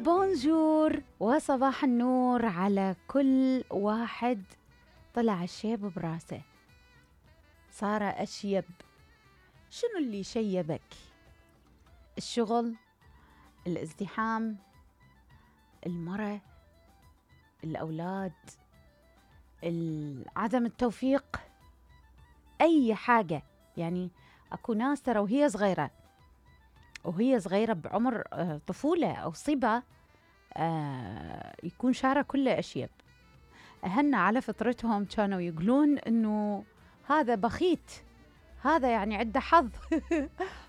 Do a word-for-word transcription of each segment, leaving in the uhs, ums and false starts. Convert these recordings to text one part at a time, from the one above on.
بونجور وصباح النور على كل واحد طلع الشيب براسه، صار أشيب. شنو اللي شيبك؟ الشغل، الازدحام، المرة، الأولاد، عدم التوفيق، أي حاجة. يعني أكو ناس ترى وهي صغيرة وهي صغيرة بعمر طفولة أو صبا آه يكون شعره كله أشيب. أهلنا على فطرتهم كانوا يقولون إنه هذا بخيت، هذا يعني عنده حظ.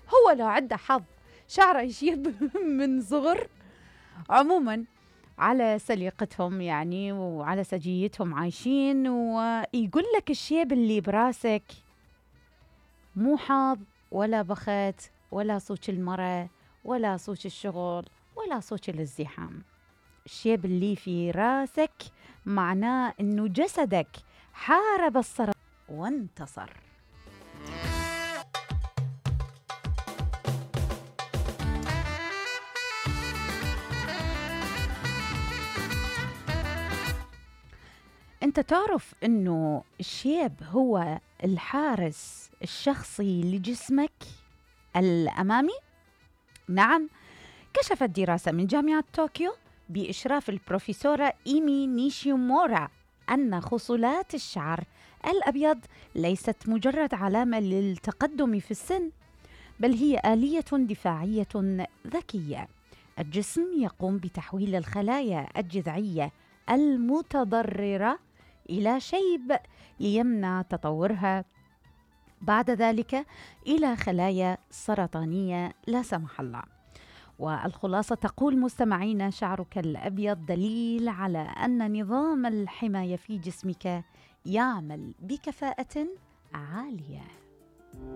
هو لو عنده حظ شعره يشيب من صغر. عموما على سليقتهم يعني وعلى سجيتهم عايشين، ويقول لك الشيب اللي براسك مو حظ ولا بخت ولا صوت المرة ولا صوت الشغل ولا صوت الازدحام. الشيب اللي في راسك معناه انه جسدك حارب السرطان وانتصر. انت تعرف انه الشيب هو الحارس الشخصي لجسمك الامامي؟ نعم، كشفت دراسة من جامعة طوكيو بإشراف البروفيسورة إيمي نيشيمورا أن خصلات الشعر الأبيض ليست مجرد علامة للتقدم في السن، بل هي آلية دفاعية ذكية. الجسم يقوم بتحويل الخلايا الجذعية المتضررة إلى شيب ليمنع تطورها بعد ذلك إلى خلايا سرطانية لا سمح الله. والخلاصة تقول مستمعين: شعرك الأبيض دليل على أن نظام الحماية في جسمك يعمل بكفاءة عالية.